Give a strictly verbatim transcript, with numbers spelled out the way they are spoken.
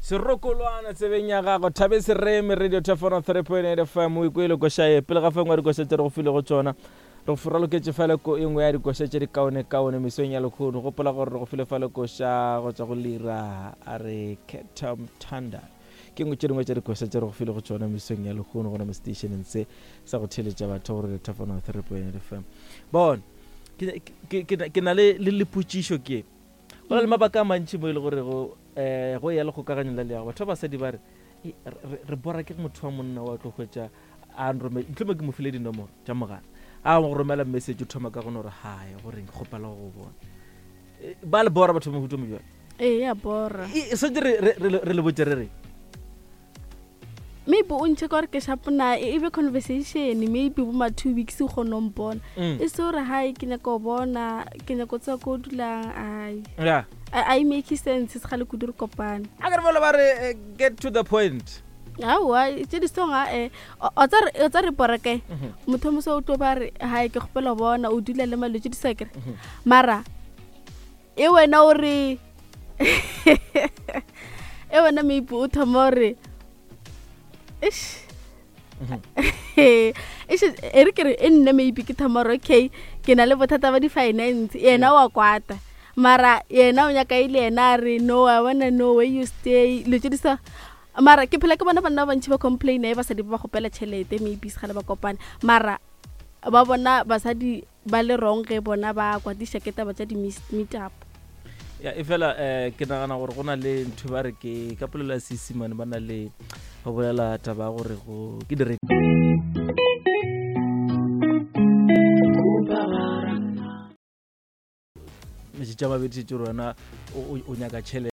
Serokolwana tsebeng ya gago, Thabe Sereme, Radio Thefano three point eight F M. O ikwele koša ye pele ga fa engwe ya dikoša tše re go filego tšona. Re go raloketše fale ko engwe ya dikoša tše di kaone-kaone mesong ya lekgono. Gopola gore re go file fale koša go tšwa go Lira a re Ketam Thunder. Ke nngwe tše dingwe tša dikoša tše re go file go tšona mesong ya lekgono gona mo stationeng se sa go theeletša batho gore Thefano three point eight F M. Bona, ke, ke, ke, ke na le, le lepotšišo ke. Go na le mabaka a mantši mo e le gore go, eh, go ya le kgokaganyo la leago. Batho ba basadi ba re, e, re, re, re bora ke motho wa monna wa tlo hwetša a nrome-, ntlhomong ke mo file dinomoro tša mogala. A go romela message o thoma ka go no re, hi, gore ke kgopela go go bona. E, ba le bora batho ba mohuta o mo jwalo? Ee, ya bora. E, e swantse re, re, re, re le botse re re. Maybe o ntšhe ka gore ke sharp na, e, e be conversation, maybe bo ma two weeks o kgone ho mpona. Mm. E se gore, hi, ke nyaka go bona, ke nyaka go tseba ko o dulang, ai. Yeah. A, a e make sense, se kgale kudu re kopane. A ke re bolela ba re, eh, get to the point. Aowa, tše di song, a, eh, o, o tsa re, o tsa re bora kae? Mhm. Motho o moswa o tlo ba re, hi, ke kgopela go bona, o dula le malwetse di sa kere. Mhm. Mara, e wena o re, e wena maybe o thoma o re, eish. Mhm. Eish, e re ke re, e nna maybe ke thoma gore, okay, ke na le bothata ba di-finance, yena wa kwata. Mara yena o nyaka e le yena a re, no, I wanna know where you stay, dilo tše di sa. Mara ke phela ke bona banna ba bantši ba complain-a e basadi ba ba kgopela tšhelete, maybe se kgale ba kopane. Mara ba bona basadi ba le wrong ge bona ba kwatiša ke taba tša di-meet-, meet up. Ya, e fela, eh, ke nagana gore go na le ntho ba re ke ka polelo ya Seesimane ba na le go bolela taba ya gore go ke dire. Metšatši a mabedi šetše gore wena o, o, o nyaka tšhelete.